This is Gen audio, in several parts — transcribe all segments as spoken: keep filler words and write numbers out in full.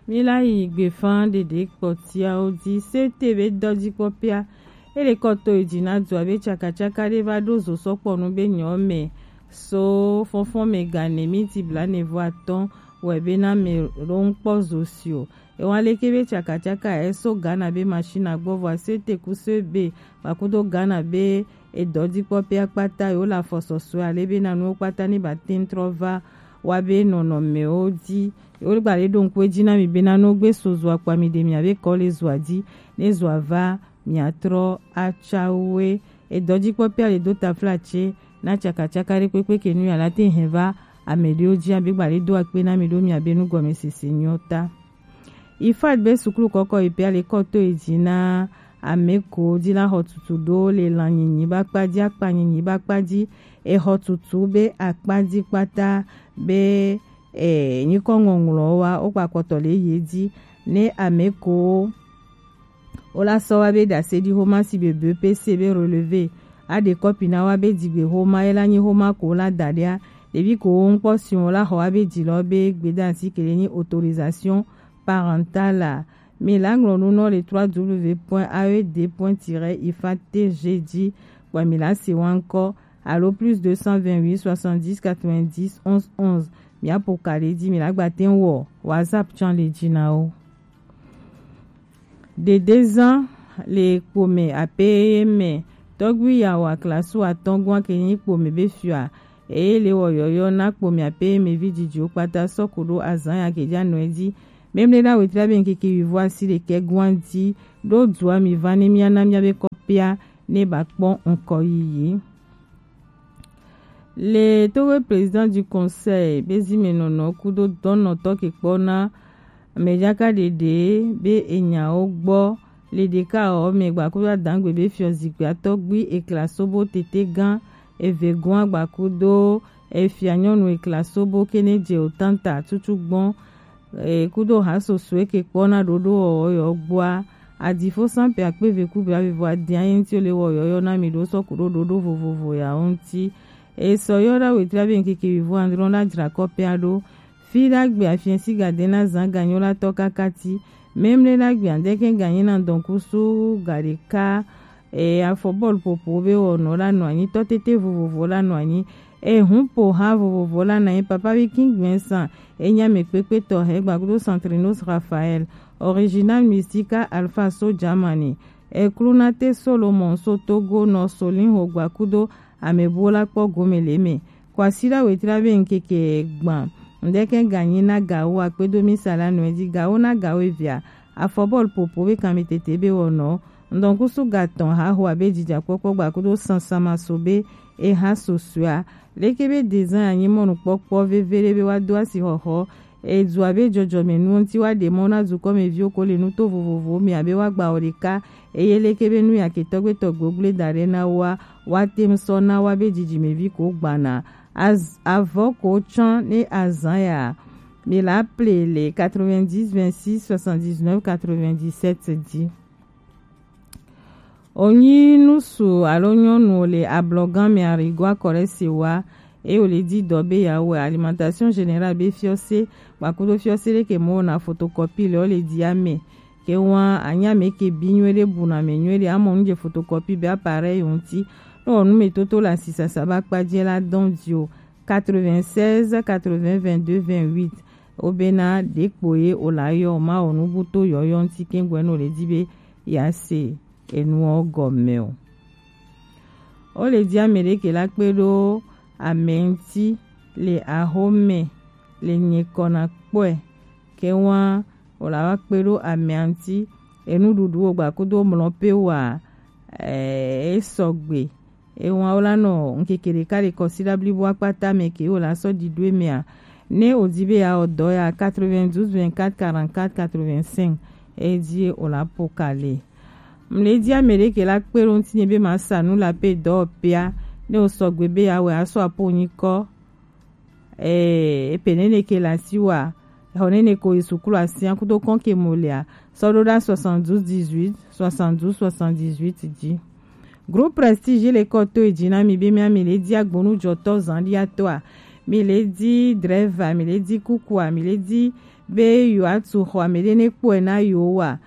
Mi la yi gbefa ɖeɖe kpɔtiawo dzi. C T be dɔdzikpɔpea, ele kɔ to yi dzi na dua be tsakatsaka ɖe va ɖo zo sɔkpɔnu be nyɔ me so fɔnfɔn me gane miti blanevo atɔn wɛ be na me ɖo ŋkpɔ zo si o. Ewa leke be tsakatsaka e so Ghana be machine agbɔ vɔ a C T ku so be gbakudo Ghana be edɔdzikpɔpea kpata yewo le afɔsɔsɔe ale be na nuwo kpata ne ba te ŋu trɔ va wa be nɔnɔmewo dzi. Yewo gba le ɖo ŋku edzi na mi bena ne wogbe so zoa kpoa mi ɖe mia be kɔ le zoa dzi, ne zoa va miatrɔ atsa woe. Edɔdzikpɔpea le do taflatse na tsakatsaka ɖe kpekpe ke nu ya la te hɛn va ame ɖewo dzi abe gba le do akpe na mi ɖo mia be nugɔmesese nyɔ ta. Ifad be suklu kɔkɔ yi pea le kɔ to yi dzi na ame ko dzi la xɔ tutu ɖo le lan nyinyi ba kpa dzi, akpa nyinyi ba kpa dzi, exɔ tutu be akpa dzi kpata be e nyikɔ ŋɔŋlɔ wa wo kpa kɔtɔ le ye dzi ne ame ko wo la sɔ wa be ɖase ɖi xoma si be be P C be relevé a ɖe kɔpi na wa be dzigbe xoma ye la nyi xoma ko wo la da ɖia ɖevi ko wo ŋkpɔ si wo la xɔ wa be dzi lɔ be gbedansi ke le nyi autorisation parentale a. Mi la ŋlɔ nu nɔ le trois W point A E D point tiret ifad T G dzi kpɔ mi la se wa ŋkɔ alo plus deux cent vingt-huit soixante-dix quatre-vingt-dix onze onze. Mi apo ka le dzi mi la gba te wɔ WhatsApp tsan le dzi na wo. Ɖeɖezan le kpome ape ye me tɔgbi yawo aklasu atɔngua ke nyi kpome be fiɔa eye le wɔ yɔyɔ na kpome ape ye me vi dzidziwo kpata sɔku ɖo azan ya ke dza nɔ edzi. Memle na wetra be ŋkeke wivo asi ɖekɛ gua dzi ɖo dua mi va ne mia na mia be kɔpia ne ba kpɔ ŋkɔ yiyi. Le Togo président du conseil be zimenɔnɔ kudo dɔnɔtɔ ke kpɔ na mɛdzaka ɖeɖe be enyawo gbɔ le ɖeka ɔ me gbakudo adangbe be fiɔ zikpui atɔgbi ekla sobo tete gã eve gɔn agbakudo efia nyɔnu ekla sobo kene dze o tanta tutu gbɔn e kudo ha soso eke kpɔ na ɖoɖo wɔwɔ yɔ gbɔa. Adifo san pe akpe ve ku bia vivo adia ye ŋuti le wɔ yɔyɔ na mi ɖo sɔ ku ɖo ɖoɖo vovovo ya wo ŋuti. Esɔ yɔ ɖa wetra be ŋkeke vivo andrɔ na dzra kɔpea ɖo. Fi ɖa gbe afiɛ si gade na zan ganyo la tɔ kaka ti. Memle ɖa gbe andɛkɛ ganyi na dɔnkusu gaɖeka e afɔ bɔlu popo be wɔnɔ la nɔ anyi tɔ tete vovovo la nɔ anyi. Ehun po ha vovovo la na ye papa bi kin gbɛn san enya me kpekpe tɔ he gbakudo Santrinos Raphael, Original Mystica Alpha so Germany, Eklunate Solomon so Togo nɔ Solin ho gbakudo amebuwo la kpɔ gome le me. Kwasida wetra be ŋkeke gban ŋdɛkɛ ganyi na gawo akpedo misa la nɔ edzi gawo na gawo evia afɔ bɔlu popo be kanmi tete be wɔnɔ ŋdɔnkusu gatɔn haho abe dzidzakpɔkpɔ gbakudo sansama so be eha sosoa. Leke be dezan anyi mɔnukpɔkpɔ veve ɖe be wa do asi xɔxɔ edu abe dzɔdzɔme nuwo ŋuti wa ɖe mɔ na dukɔmeviwo ko le nuto vovovowo me abe wa gba wɔ ɖeka eye leke be nu ya ke tɔgbe tɔgbe wo gble da ɖe na woa wa te ŋu sɔ na wa be dzidzimevi ko gbana. Az- avɔ ko tsã ne azan ya mi la ple le quatre-vingt-dix vingt-six soixante-dix-neuf quatre-vingt-dix-sept dzi. Onyi nusu alo nyɔnu le ablɔgan me arigo akɔ ɖe se wa eye wòle di dɔ be yeawɔe. Alimentation générale be fiɔse kpakudo fiɔse ɖe ke mɔ na photocopie le wo le di ame ke wa anya me ke bi nyuie ɖe bu na me nyuie ɖe amɔ nu dze photocopie be appareil ŋuti. Ne wɔ nu me toto le asisasa ba kpa dzi la dɔn di o. Quatre-vingt-seize quatre-vingts vingt-deux vingt-huit. Wobena ɖekpo ye wòla yɔ mawɔ nubuto yɔyɔ ŋuti kɛŋgbɛ ne wòle di be yease enuwo gɔme o. Wole di ame ɖeke la kpe ɖo ame ŋuti le axome le nyikɔ na kpɔe ke wa wòla wa kpe ɖo amea ŋuti enuɖuɖu wo gbakudo mlɔ pe wa e sɔgbe. Ewa wo la nɔ ŋkeke ɖeka ɖe kɔsiɖa blibo akpata me ke wo la sɔ ɖi ɖo emea. Ne wòdi be yeawɔ dɔ ya quatre-vingt-douze vingt-quatre quarante-quatre quatre-vingt-cinq edi wòla po ka le. Mle di ame ɖe ke la kpe ɖo ŋuti nye be ma sa nu la pe dɔ pea ne wòsɔgbe be yeawɔe asɔ apo nyikɔ Ee, epe nene ke le asiwòa. Xɔ nene ko yi suklu asia kudo kɔn ke mo lea, sɔ ɖo ɖa soixante-douze dix-huit, soixante-douze soixante-dix-huit dzi. Groupe Prestige le kɔ to edzi na mi be mia mi le di agbonu dzɔtɔ zan ɖia tɔa. mi le di dreva, mi le di kukua, mi le di be yewoatu xɔ ame ɖe ne kpɔe na yewoa.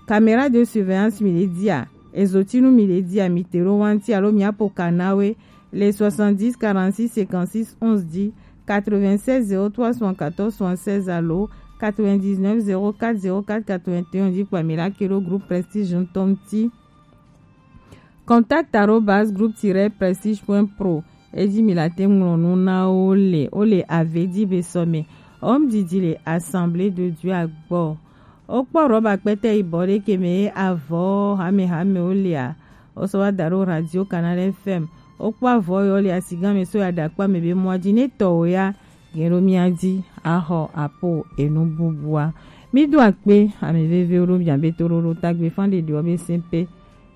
Caméra de surveillance mi le dia, ezotinu mi le dia, mi te ɖo wa ŋuti alo mi apo ka na we le soixante-dix quarante-six cinquante-six onze dix, quatre-vingt-seize zéro trois soixante-quatorze soixante-seize alo quatre-vingt-dix-neuf zéro quatre zéro quatre quatre-vingt-un dzi kpa mi la ke ɖo groupe Prestige ŋutɔ ŋuti. Contact arobase groupe tiret prestige point pro. Edzi mi la te ŋlɔ nu na wo le, wo le ave di be sɔ me. Home didi le Assemblée de Dieu agbɔ. Wokpɔ rɔba kpɛtɛ yibɔ ɖe ke me ye avɔ hamehame wo lea, wosɔ va da ɖo Radio Canal F M. Wokpɔ avɔ yɔ le asigã me so ya ɖe akpa me be mɔa dzi ne tɔ wo ya gen ɖo mía dzi axɔ apo enu bubua. Mi do akpe ame vevewo ɖo mia be toɖoɖo tagbe fan ɖeɖewo be sɛnpe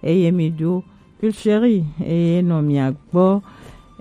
eye mi ɖo Pulcherie eye nɔ mia gbɔ.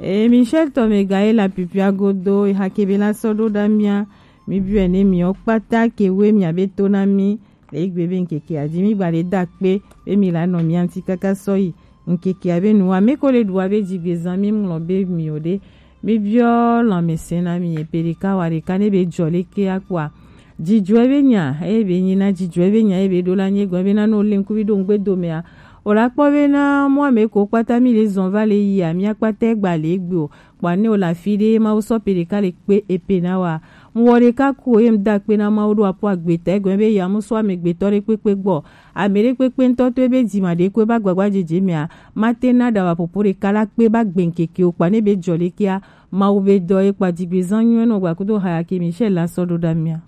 Eye Michel tɔ me ga ye la pipia godo hake be la sɔ ɖo ɖa mia. Mi biɔ ne miɔ kpata ke we mia be to na mi le egbe be ŋkeke adi mi gba le da kpe be mi la nɔ mia ŋuti kaka sɔ yi ŋkeke abe nu wa me ko le ɖu wa be dzigbezã mi ŋlɔ be mi o ɖe. Mi biɔ lãmesẽ na mi epe ɖeka wa ɖeka ne be dzɔ leke akpɔa. Dzidzɔe be nya eye be nyi na dzidzɔe be nya eye be ɖo la nye gɔn be na no le ŋkuvi ɖo ŋgbe domea. O la kpɔ be na mɔ ame ko kpata mi le zɔn va le yia mia kpata gba le egbe o. Kpɔa ne o la fi ɖe Mawu sɔ pe ɖeka le kpe epe na wa. Mu wɔ ɖeka ku o ye mu da kpe na Mawu ɖo apo agbeta egɔn be ya mu sɔ ame gbetɔ ɖe kpekpe gbɔ. Ame ɖe kpekpe ŋutɔ to ebe dzima ɖe ko eba gbagba dzedze mea, mate na ɖa wa popo ɖeka la kpe ba gbe ŋkeke o kpa ne be dzɔ ɖekea, Mawu be dɔ ye kpa dzigbezã nyuie nɔ gba kudo haya ke Michel la sɔ ɖo ɖa mia.